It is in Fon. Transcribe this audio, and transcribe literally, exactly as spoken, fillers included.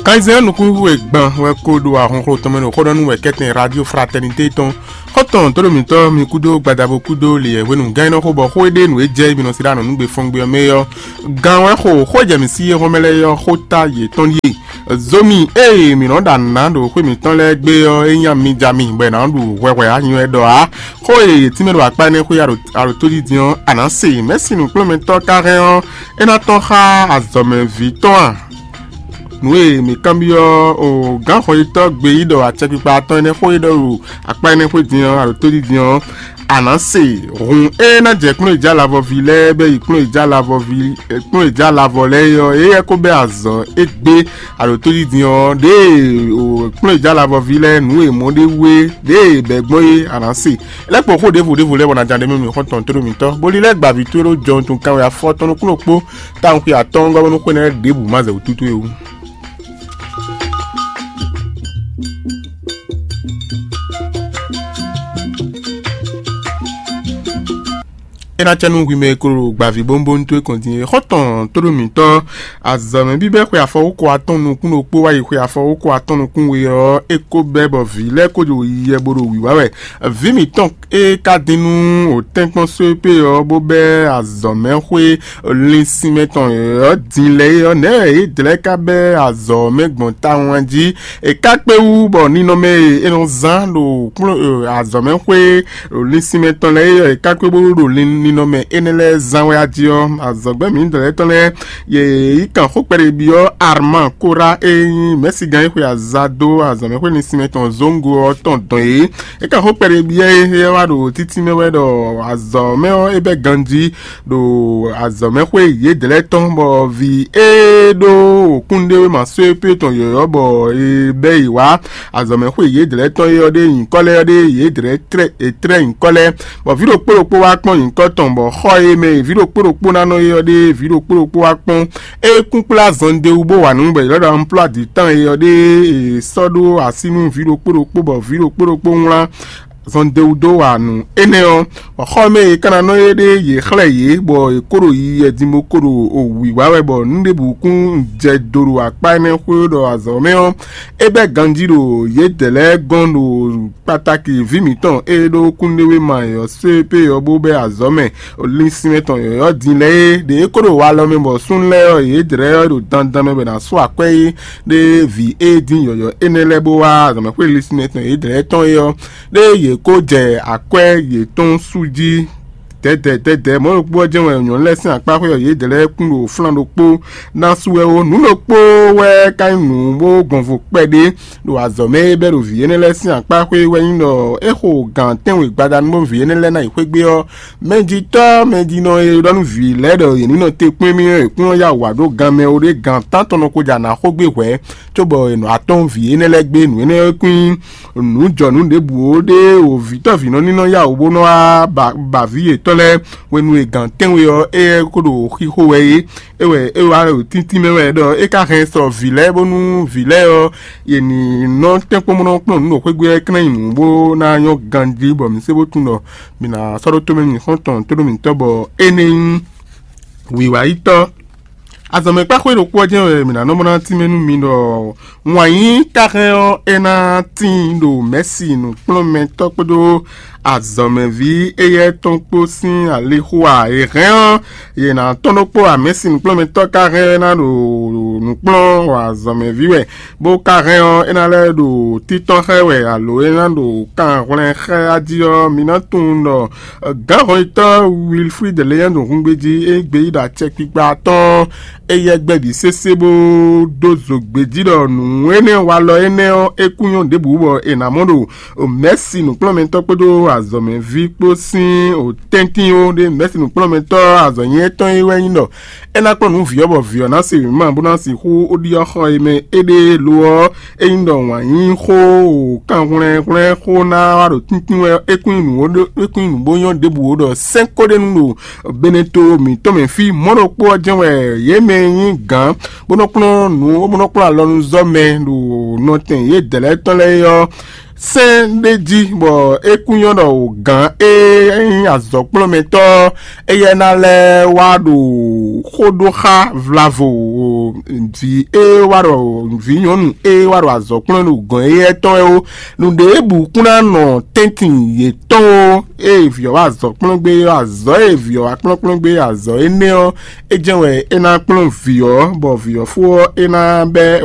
Kanzɛn nukúnxu e gban wɛ ko ɖo ahɔnxlɔ́ tɔn mɛ ɖo xó ɖɔ nú wɛ kɛ́tɛn Radio Fraternité tɔn. Xɔ́ntɔn tóɖomítɔ́ mi kúdó gbadabo kúdó liyɛ hwenu gán nɔ xó bɔ xó e ɖe nǔ e jɛ mi nɔ sí ɖo anɔ̌nugbe fɔ́ngbé ɔ́ mɛ ɔ́, gán wɛ xo xó e jɛ mǐ sí é hɔn mɛ lɛ́ɛ ɔ́, xó ta yětɔn ɖíe. Zomi ée mǐ nɔ ɖo anǎ ɖo xwé mǐtɔn lɛ́ɛ gbe ɔ́, é nyí ami jɛ ami, bɔ è nǎ ɖu hwɛhwɛ anyɔ ɛ ɖɔ ǎ. Xó e yě tínmɛ ɖo akpá énɛ́ xwé aɖo tójí din ɔ́, a nǎ se. Mɛ̌si nǔkplɔ́nmɛtɔ́ ka hɛn ɔ́, é ná tɔ́n xá azɔ̌mɛví tɔn a? Nǔ e mǐ kanbyɔ́ o gǎn xɔyítɔ́ gbe yí ɖɔ acɛkpikpa atɔn énɛ́ xó e ɖɔ ɖo akpá énɛ́ xwé din ɔ́, aɖo tójí din ɔ́, a nǎ se. Hun e ná jɛ kplɔ́njija lavɔví lɛ́ɛ bɛ́ yi kplɔ́njija lavɔví kplɔ́njija lavɔ lɛ́ɛ é ɔ́, éyɛ́ ko bɛ́ azɔ̌ égbé aɖo tójí din ɔ́, ɖěe kplɔ́njija lavɔví lɛ́ɛ nǔ e mɔ ɖé wú é, ɖěe bɛ̌ gbɔn é, a nǎ se. Lɛ́ kpo xó ɖěvo ɖěvo lɛ́ɛ bɔ ná ján ɖ'é mɛ mì xɔ́ntɔn tóɖó mǐtɔn, bó lílɛ́ gbǎví towe ɖó jɔnwun tɔn kanwe afɔtɔn nukúnnú kpó tawun xwe atɔ́ɔ́ngɔ́ bónú xwé nɛ́ lɛ́ɛ ɖěbǔ má zɛ wǔtútú é wú. É ná cɛ nú hwi mɛ e ko ɖo gbǎví bónbónú towe kɔn din é. Xɔ́ntɔn tóɖó mǐtɔn, azɔ̌mɛ bíbɛ́ xwe afɔwókɔ atɔn nukún ɖokpó wá yi xwe afɔwókɔ atɔn nukún we ɔ́, é ko bɛ́ bɔ vǐ lɛ́ɛ ko ɖo yiyɛ bó ɖo wǐwá wɛ. Vǐ mǐtɔn e ka dín nú wǒtɛ́nkpɔ́n só e pé ɔ́, bó bɛ́ azɔ̌mɛxwé linsinmɛ tɔn yɔ̌yɔ́ din lɛ́ɛ é ɔ́, nɛ̌ wɛ yě dlɛ́ ka bɛ́ azɔ̌ ɔ́ mɛ gbɔn tawun jí? È ká kpé wú bɔ ninɔmɛ e è nɔ zán ɖo kplɔ́n azɔ̌mɛxwé ɖo linsinmɛ tɔn lɛ́ɛ é ɔ́, è ká kpé bó ɖo lin- ninɔmɛ énɛ́ lɛ́ɛ zán wɛ a jí ɔ́, azɔ̌gbɛ́ mǐdɛɛ lɛ́ɛ tɔn lɛ́ɛ yě yi kan xó kpɛɖé byɔ́ Arman Kora e nyí mɛ̌sigán e xwe aza dó azɔ̌mɛxwé linsinmɛ tɔn Zongo ɔ́ tɔn dɔn yě. É kan xó kpɛɖé byɔ́ é, é wá ɖo títí mɛ wɛ ɖɔ azɔ̌ mɛ ɔ́ é bɛ́ ganjí ɖo azɔ̌mɛxwé yědɛɛ lɛ́ɛ tɔn, bɔ vǐ e ɖó wǒkúnɖéwéma só e pé tɔn yɔ̌yɔ́ bɔ è bɛ́ yě wá azɔ̌mɛxwé yědɛɛ lɛ́ɛ tɔn é ɔ́ ɖe nyǐkɔ lɛ́ɛ ɔ́ ɖe yědɛɛ lɛ́ɛ tlɛ́ è tlɛ́ nyǐkɔ lɛ́ɛ, bɔ vǐ ɖokpó ɖokpó wá kpɔ́n nyǐkɔ tɔn, bɔ xɔ e mɛ vǐ ɖokpó ɖokpó ná nɔ é ɔ́ ɖe vǐ ɖokpó ɖokpó wá kpɔ́n. É kún kplá zɔnde wú bó wa nǔ bɔ è lɔ́ ɖɔ unplɔ́ adǐtɔ́n é ɔ́ ɖe è sɔ́ ɖó así nú vǐ ɖokpó ɖokpó, bɔ vǐ ɖokpó ɖokpó wlán zɔnde wú dó wa nǔ énɛ́ ɔ́. Bɔ xɔ e mɛ è ka ná nɔ é ɖe yě xlɛ́ yě, bɔ è kó ɖo yiyi din bó kó ɖo wǐwá wɛ, bɔ nǔ ɖěbǔ kún jɛ do ɖo akpá énɛ́ xwé ɖɔ azɔ̌ mɛ ɔ́, é bɛ́ ganjí ɖo yědɛɛ lɛ́ɛ gɔ́n ɖo kpatáki vǐ mǐtɔn e ɖó kúnɖéwéma e ɔ́ só e pé ɔ́ bó bɛ́ azɔ̌ mɛ linsinmɛ tɔn yɔ̌yɔ́ din lɛ́ɛ é, ɖě é kó ɖo walɔ mɛ bɔ súnnu lɛ́ɛ ɔ́, yě dlɛ́ ɔ́ ɖo dandan mɛ bɔ è nǎ sú akwɛ́ é ɖé vǐ e dín yɔ̌yɔ́ énɛ́ lɛ́ɛ bó wá azɔ̌mɛxwé linsinmɛ tɔn yě dlɛ́ tɔn é ɔ́, ɖé yě kó jɛ akwɛ́ yětɔn sú jí. Dɛ̌dɛ̌ dɛ̌dɛ̌ mɔ̌ ɖokpó ɔ́ jɛ́n wɛ nyɔ̌nu lɛ́ɛ sín akpá xwé ɔ́, yě dlɛ́ kún ɖo flán ɖokpó ná sú wɛ ó. Nǔ ɖokpó wɛ ka nyí nǔ bó gbɔn vo kpɛɖé ɖo azɔ̌ mɛ é bɛ́ ɖo vǐ énɛ́ lɛ́ɛ sín akpá xwé wɛ nyí ɖɔ é xo gǎn tɛ́nwe gbadanu bó vǐ énɛ́ lɛ́ɛ ná yi xwé gbé ɔ́, mɛjitɔ́ mɛjinɔ e ɖɔ nú vǐ lɛ́ɛ ɖɔ yě ní nɔ te kpɔ́n émí ɔ́, è kún nɔ yá wǔ wá ɖó gan mɛ ó ɖé gan tántɔn nɔ ko jɛ anǎ xó gbé hwɛ̌, cóbɔ è nɔ atɔ́n vǐ énɛ́ lɛ́ɛ gbé. Nǔ énɛ́ ɔ́ kún nyí nǔ jɔ nǔ ɖěbǔ ó ɖé o vǐtɔ́ vǐnɔ ní nɔ yá wǔ bó nɔ wá ba ba vǐ yětɔn lɛ́ɛ hwenu e gǎn tɛ́nwe ɔ́, éyɛ́ ko ɖo xixo wɛ é. É wɛ é wá ɖo tíntín mɛ wɛ ɖɔ é ka hɛn sɔ vǐ lɛ́ɛ bónú vǐ lɛ́ɛ ɔ́, yě ní nɔ tɛ́nkpɔ́n bó nɔ kplɔ́n nǔ ɖo xwé gbe ɔ́, é ka ná nyí nǔ bó ná nyɔ́ ganjí bɔ mǐ sé bó tunwun ɖɔ mǐ ná sɔ́ ɖó tómɛ mì xɔ́ntɔn tóɖó mǐtɔn bɔ énɛ́ nyí wǐwáyítɔ́. Azɔ̌mɛkpáxwé ɖokpó ɔ́ jɛ́n wɛ mǐ ná nɔ mɔ ná tínmɛ nú mi ɖɔ wǎn yí káxɛn ɔ́, é ná tíin ɖo mɛ̌si nǔkplɔ́nmɛtɔ́ kpódó azɔ̌mɛví éyɛ́ tɔn kpó sín alixo ǎ. È hɛn ɔ́, yě ná tɔ́n ɖokpó ǎ. Mɛ̌si nǔkplɔ́nmɛtɔ́ ka hɛn ná ɖo nǔkplɔ́n azɔ̌mɛví wɛ, bó ka hɛn ɔ́, é ná lɛ́ ɖo títɔ́n xá ɛ wɛ, alo é ná ɖo kanhwlɛ́n xá ɛ jí ɔ́, mi ná tunwun ɖɔ gǎnhɔnyitɔ́ Wilfrid Léandre Hungbeji e gbeyíɖɔ acɛkpikpa atɔ́ɔ́n, éyɛ́ gbɛ́ bǐ sésé bó dó zo gbějí ɖɔ nǔ énɛ́ walɔ énɛ́ ɔ́, é kú nyɔ́ ɖěbǔ bɔ è nǎ mɔ ɖo mɛ̌si nǔkplɔ́nmɛtɔ́ kpódó azɔ̌mɛví kpó sín tɛ́ntin ó. Ɖé mɛ̌si nǔkplɔ́nmɛtɔ́ azɔ̌nyɛ́tɔ́ é wɛ nyí ɖɔ é ná kplɔ́n nǔ vǐ ɔ́, bɔ vǐ ɔ́ ná se wěma bó ná sixú ɖiɖɔ xɔ e mɛ é ɖe lo ɔ́, é nyí ɖɔ wǎn yí xó o kanhwlɛ́nhwlɛ́n xó ná wá ɖo tíntín wɛ é kún nyí nǔ bó nyɔ́ ɖěbǔ ó ɖɔ sɛ́n ko ɖ'é nu ɖo beneto mǐtɔn mɛ fí. Mɔ̌ ɖokpó ɔ́ jɛ́n wɛ yě mɛ e nyí gǎn bó nɔ kplɔ́n nǔ bó nɔ kplɔ́n alɔnuzɔ́mɛ ɖo nɔtɛn yědɛɛ lɛ́ɛ tɔn lɛ́ɛ é ɔ́, sɛn ɖé jí, bɔ é kún nyɔ́ ɖɔ gǎn e nyí azɔ̌kplɔ́nmɛtɔ́ éyɛ́ ná lɛ́ wá ɖo xó ɖó xá vlavo vǐ e wá ɖɔ vǐ nyɔ̌nu e wá ɖo azɔ̌kplɔ́n ɖo gɔ̌n éyɛ́ tɔn wɛ ó. Nǔɖé bǔ kún ná nɔ tɛ́ntin yětɔn ó. Ée vǐ ɔ́ wá azɔ̌kplɔ́n gbé ɔ́, azɔ̌ e vǐ ɔ́ wá kplɔ́nkplɔ́n gbé azɔ̌ énɛ́ ɔ́, é jɛ́n wɛ é ná kplɔ́n vǐ ɔ́, bɔ vǐ ɔ́ fó ɔ́, é ná bɛ́